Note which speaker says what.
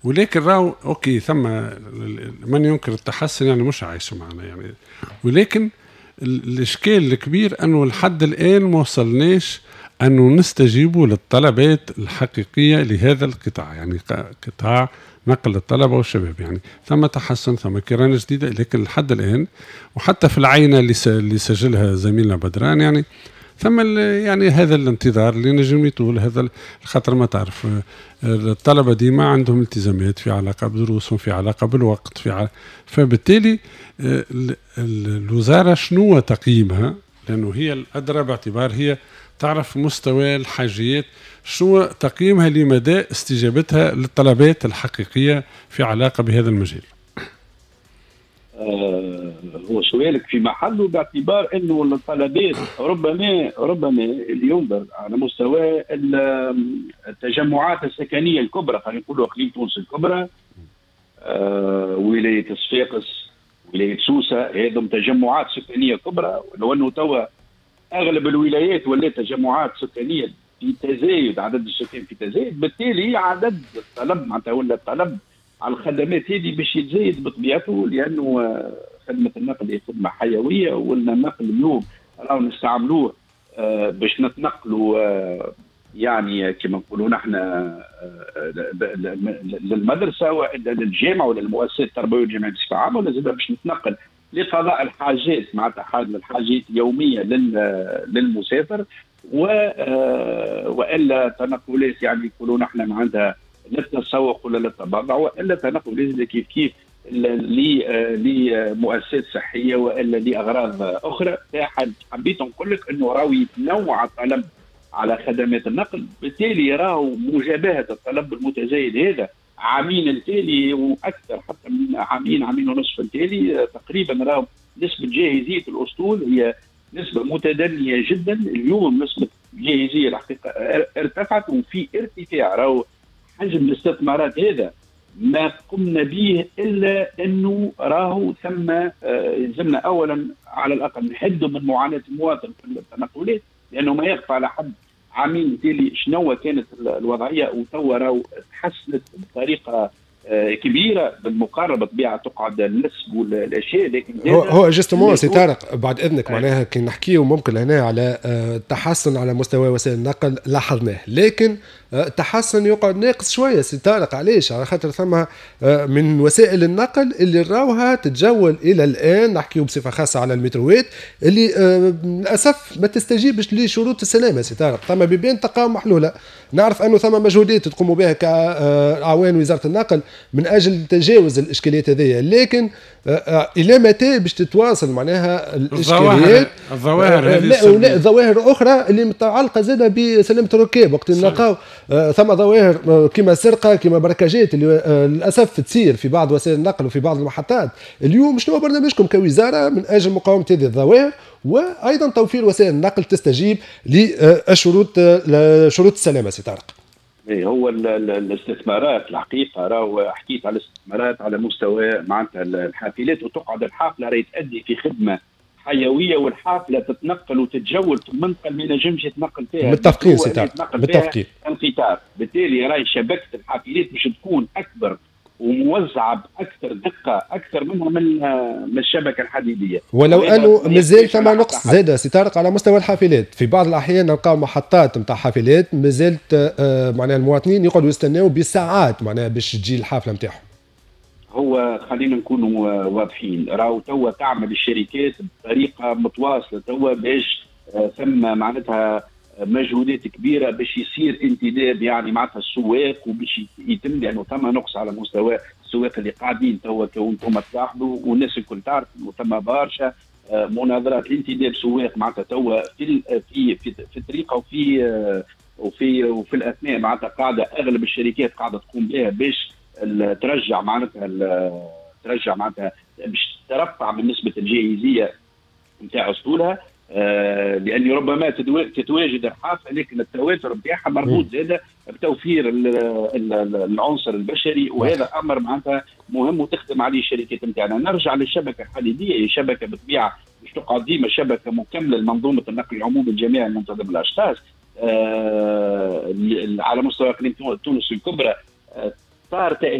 Speaker 1: ولكن راهو OK، ثم من ينكر التحسن يعني مش عايش معنا يعني، ولكن الاشكال الكبير انه لحد الان ما وصلناش انه نستجيبوا للطلبات الحقيقية لهذا القطاع، يعني قطاع نقل الطلبة والشباب. يعني ثم تحسن، ثم كيران جديده، لكن لحد الان وحتى في العينة اللي سجلها زميلنا بدران يعني ثم يعني هذا الانتظار اللي نجم يطول، هذا الخاطر ما تعرف الطلبة ديما عندهم التزامات في علاقة بدروسهم، في علاقة بالوقت، فبالتالي الوزارة شنو تقييمها؟ لانه هي الادرى باعتبار هي تعرف مستوى الحاجيات. شو تقييمها لمدى استجابتها للطلبات الحقيقية في علاقة بهذا المجال؟
Speaker 2: هو سؤالك في محله باعتبار انه الطلبات ربما اللي ينظر على مستوى التجمعات السكنية الكبرى، خلينا نقولوا اقليم تونس الكبرى، ولاية صفاقس، ولاية سوسه، هذم تجمعات سكانية كبرى. ولو انه توا اغلب الولايات ولات تجمعات سكانية في تزايد، عدد السكان في تزايد، بالتالي عدد الطلب معناتها ولا الطلب على الخدمات هذه باش يتزايد بطبيعته، لانه خدمة النقل هي خدمة حيويه، ولا النقل اليوم راهو نستعملوه باش نتنقلوا يعني كما نقولوا نحن للمدرسة والا للجامعة ولا للمؤسسات التربوية والجامعية بصفة عامه، ولا زاد باش نتنقل لقضاء الحاجات، معناتها الحاجات اليومية للمسافر، والا تنقلات يعني يقولوا نحن معناتها للتسوق ولا للتبضع، والا تنقل كيف كيف لمؤسسات صحية والا لاغراض اخرى. حبيت نقول لك انه راهو يتنوع الطلب على خدمات النقل، بالتالي راهو مجابهة الطلب المتزايد هذا عامين التالي واكثر، حتى من عامين، عامين ونصف التالي تقريبا، راهو نسبه جاهزية الاسطول هي نسبه متدنيه جدا. اليوم نسبه الجاهزيه الحقيقة ارتفعت وفي ارتفاع. راهو حجم الاستثمارات هذا ما قمنا به الا انه راهو ثم يلزمنا اولا على الاقل نحدوا من معاناة المواطن في التنقلات، لانه ما يخفى على حد عامين تالي شنو كانت الوضعيه، وتوا راهو تحسنت بطريقة كبيرة بالمقارنه. بطبيعة تقعد النسب والاشياء، لكن
Speaker 3: هو justement سي طارق بعد اذنك، معناها كي نحكيو ممكن هنا على تحسن على مستوى وسائل النقل لاحظناه، لكن التحسن يقعد ناقص شوية سي طارق. علاش؟ على خاطر ثم من وسائل النقل اللي راوها تتجول الى الان، نحكيو بصفة خاصة على المتروات اللي للاسف ما تستجيبش لشروط السلامة سي طارق. ثم بيبان تلقاهم محلوله، نعرف انه ثم مجهودات تقوموا بها كاعوان وزارة النقل من اجل تجاوز الاشكاليات هذه، لكن الى متى باش تتواصل معناها الاشكاليات؟
Speaker 1: الظواهر
Speaker 3: هذه، لا، ظواهر اخرى اللي متعلقه زاده بسلامه الركاب، وقت نلقاو ثم ظواهر كما سرقه، كما بركاجات اللي للاسف تصير في بعض وسائل النقل وفي بعض المحطات. اليوم شنو برنامجكم كوزارة من اجل مقاومة هذه الظواهر وايضا توفير وسائل النقل تستجيب للشروط، شروط السلامة سي طارق؟
Speaker 2: إيه، هو الاستثمارات الحقيقة راهو حكيت على الاستثمارات على مستوى معناتها الحافلات، وتقعد الحافلة راهي تؤدي في خدمة حيويه، والحافله تتنقل وتتجول في المنطقة اللي ما ينجمش يتنقل فيها
Speaker 3: متفقين سي طارق، متفقين.
Speaker 2: القطار. بالتالي راهي شبكة الحافلات باش تكون اكبر وموزعه باكثر دقه اكثر منها من الشبكة الحديديه.
Speaker 3: ولو انه مازال ثم نقص زاد سي طارق على مستوى الحافلات، في بعض الاحيان نلقاو محطات نتاع حافلات مازالت معناها المواطنين يقعدوا يستناو بالساعات معناها باش تجي الحافلة نتاعهم.
Speaker 2: هو خلينا نكونوا واضحين، راهو توا تعمل الشركات بطريقة متواصلة توا باش ثم معناتها مجهودات كبيرة باش يصير انتداب يعني معناتها السواق وباش يتم، لانه ثم نقص على مستوى السواق اللي قاعدين توا، كنتم تلاحظوا والناس الكل تعرف انه ثم برشا مناظرات لانتداب سواق معناتها توا في الطريقة وفي الاثناء معناتها قاعدة اغلب الشركات قاعدة تقوم بها باش ترجع معناتها باش ترفع من نسبه الجاهزيه نتاع اسطولها، لان ربما تتواجد الحافلة لكن التواتر نتاعها مربوط زاده بتوفير العنصر البشري، وهذا امر معناتها مهم وتخدم عليه الشركات نتاعنا. نرجع للشبكه الحديديه، هي شبكة بطبيعة باش تقعد ديما شبكة مكملة لمنظومه النقل العمومي الجماعي المنتظم الاشخاص على مستوى اقليم تونس الكبرى. صار تاهيل